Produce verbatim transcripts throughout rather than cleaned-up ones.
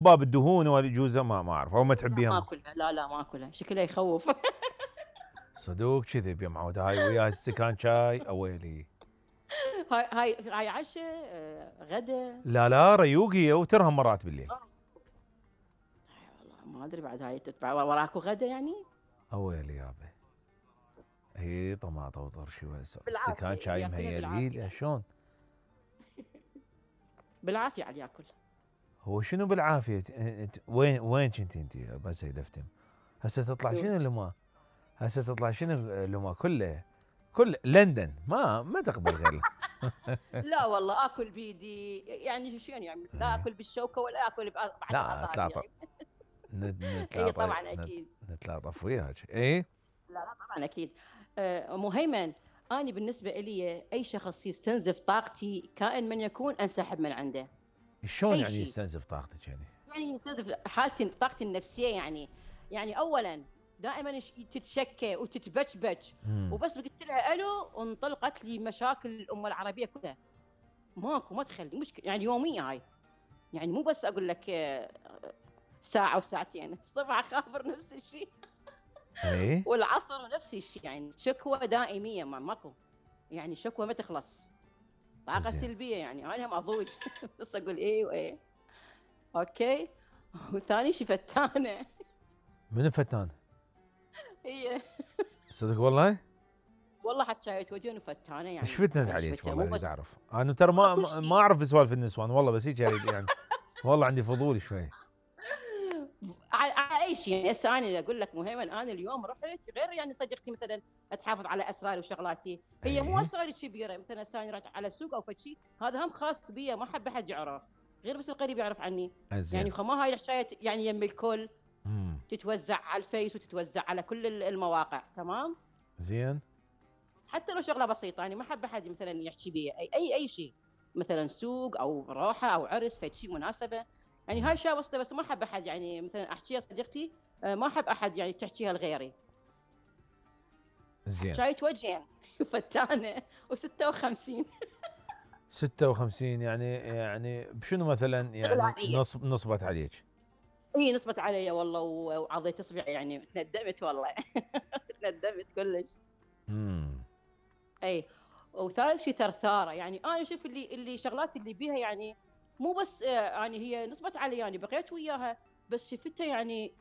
باب الدهون والجوزه ما ما اعرف او ما لا تحبيها. ما اكلها، لا لا ما اكلها، شكلها يخوف. صدوق كذب يا معود، هاي وياها استكان شاي اويلي. هاي هاي هاي عشاء آه، غدا. لا لا ريوقي وترهم مرات بالليل. آه. والله ما ادري بعد هاي تتبع وراكو غدا يعني. اويلي يابا. هي طماطه وطرشي بالعافيه استكان شاي ياكلها مهيلي لا بالعافيه. شلون. بالعافيه على ياكل. هو شنو بالعافيه؟ وين وين كنت انت بس دفتم؟ هسه تطلع شنو لما هسه تطلع شنو لما كله كل لندن ما ما تقبل غير. لا والله اكل بيدي يعني شو يعني، لا اكل بالشوكه ولا اكل بعد لا اصابعي. اتلاطف. اي نتلاطف طبعا اكيد. نتلاطف وياك اي. لا لا طبعا اكيد. آه، مهيمن، أنا بالنسبة إلي أي شخص يستنزف طاقتي كائن من يكون أنسحب من عنده. شلون أي يعني شيء يستنزف طاقتك يعني؟ يعني يستنزف حالتي طاقتي النفسية يعني. يعني أولا دائما تتشكى وتتبشبش، مم. وبس قلت لها ألو وانطلقت لي مشاكل الأمة العربية كلها. ماكو ما تخلي مشكلة يعني يومية هاي. يعني مو بس أقول لك آه، ساعة وساعتين، الصبح أخابر نفس الشيء. اي والعصر نفس الشيء، يعني شكوى دائمية ما ماكو. يعني شكوى ما تخلص. طاقة زين. سلبية يعني أنا هم أضوج. بس أقول إيه وإيه. أوكي. وثاني شي فتانة. من فتان؟ هي صدق والله؟ والله حتى شايت وجهي وفتانة ايش يعني فتنت يعني ايش عليك فتانة مو والله اريد بس. اعرف. انا ترى ما كل ما ما شيء. اعرف سوالف النسوان والله، بس هيك اريد يعني. والله عندي فضول شوي. على, على اي شيء يعني. هسه انا اقول لك مهيمن، انا اليوم رحت غير يعني صديقتي مثلا تحافظ على اسراري وشغلاتي، هي مو اي اسراري كبيره، مثلا هسه انا رحت على السوق او فشي هذا هم خاص بي، ما حب احد يعرف غير بس القريب يعرف عني. يعني زين. خما هاي الحكايه يعني يم الكل، امم تتوزع على الفيس وتتوزع على كل المواقع تمام. زين. حتى لو شغله بسيطه يعني ما حب احد مثلا يحكي بي اي اي اي شيء، مثلا سوق او روحه او عرس فد شيء مناسبه. يعني هاي نعم. اشياء بسيطه بس ما حب احد يعني مثلا احكيها صديقتي آه، ما احب احد يعني تحكيها لغيري. زين. شايت وجهين فتانه و56. ستة وخمسين يعني يعني بشنو مثلا شغله يعني عاديه. نصب نصبت عليك؟ هي نصبت علي والله و- وعضيت اصبعي يعني تندمت والله. تندمت كلش. امم اي. وثالث شيء ثرثاره، يعني انا اشوف اللي اللي شغلات اللي بيها يعني مو بس آه، يعني هي نصبت علي يعني بقيت وياها، بس شفتها يعني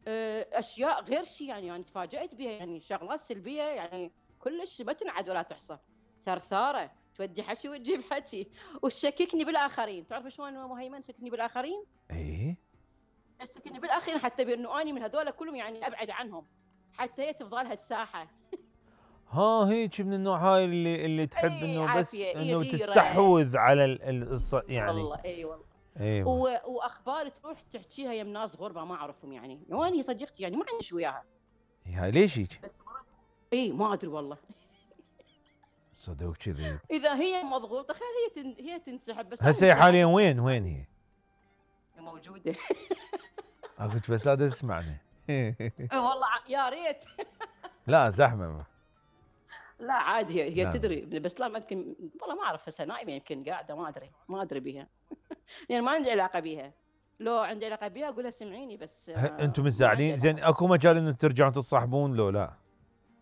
آه، اشياء غير شيء يعني يعني تفاجات بها يعني شغلات سلبيه يعني كلش ما تنعد ولا تحصى. ثرثاره تودي حكي وتجيب حكي وتشككني بالاخرين. تعرف شلون مهيمن تشككني بالاخرين؟ اي تشككني بالاخرين حتى بانه اني من هذول كلهم يعني ابعد عنهم، حتى هي تفضل هالساحه. ها هيك من النوع هاي اللي اللي تحب اي انه بس عافيه اي انه غيره. تستحوذ على ال ال الص- اي يعني. والله اي والله. ايوه. و... واخبار تروح تحكيها يم ناس غربه ما اعرفهم يعني، واني صديقتي يعني ما عندي وياها. هاي ليش هيك؟ بس مرات اي ما ادري والله. صدق كذي. اذا هي مضغوطه خير هي تن... هي تنسحب، بس انا هسه هي مثل حاليا عادي وين يعني وين عادي هي؟ موجوده. اقول بس هذا اسمعني. إي والله ع- يا ريت. لا زحمه. لا عادي هي, هي لا لا. تدري بس لا ما يمكن والله ما اعرف هسه نايمه يمكن قاعده ما ادري ما ادري بها. يعني ما عندي علاقه بها. لو عندي علاقه بها اقول لها سمعيني بس ه- انتم آه، ما عندي متزاعلين زين؟ علاقه. اكو مجال انه ترجعون تتصاحبون لو لا؟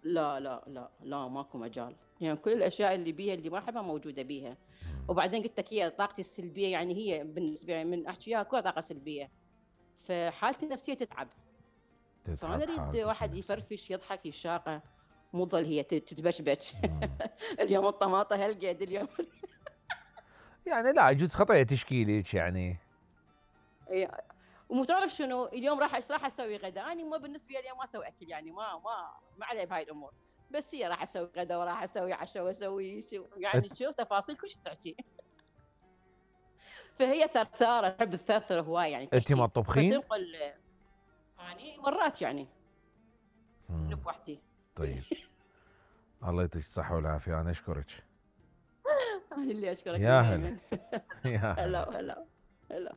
لا لا لا لا ماكو مجال. يعني كل الاشياء اللي بيها اللي ما احبها موجوده بيها. مم. وبعدين قلت لك هي طاقتي السلبيه يعني هي بالنسبه لي من احكيها كلها طاقه سلبيه، فحالتي النفسيه تتعب. فانا تتعب اريد حالتك واحد النفسيه. يفرفش يضحك يشاقه، مو ظل هي تتبشبش. مم. اليوم الطماطه هالقد اليوم. يعني لا يجوز خطأ تشكيلك يعني. إيه. ومو تعرف شنو اليوم راح ايش راح اسوي غدا، انا ما بالنسبه لي ما اسوي اكل يعني ما ما ما علي بهاي الامور. بس هي راح اسوي غدا وراح اسوي عشاء واسوي شو يعني شو تفاصيل كل شيء تحكي. فهي ثرثاره تحب الثرثره هواي يعني انت ما تحكي تطبخين؟ فتنقل. يعني مرات يعني مم. نب وحدي. طيب. الله يعطيك الصحة والعافية، أنا أشكرك. انا اللي اشكرك يا هلا. مهيمن. يا هلا. هلا هلا هلا.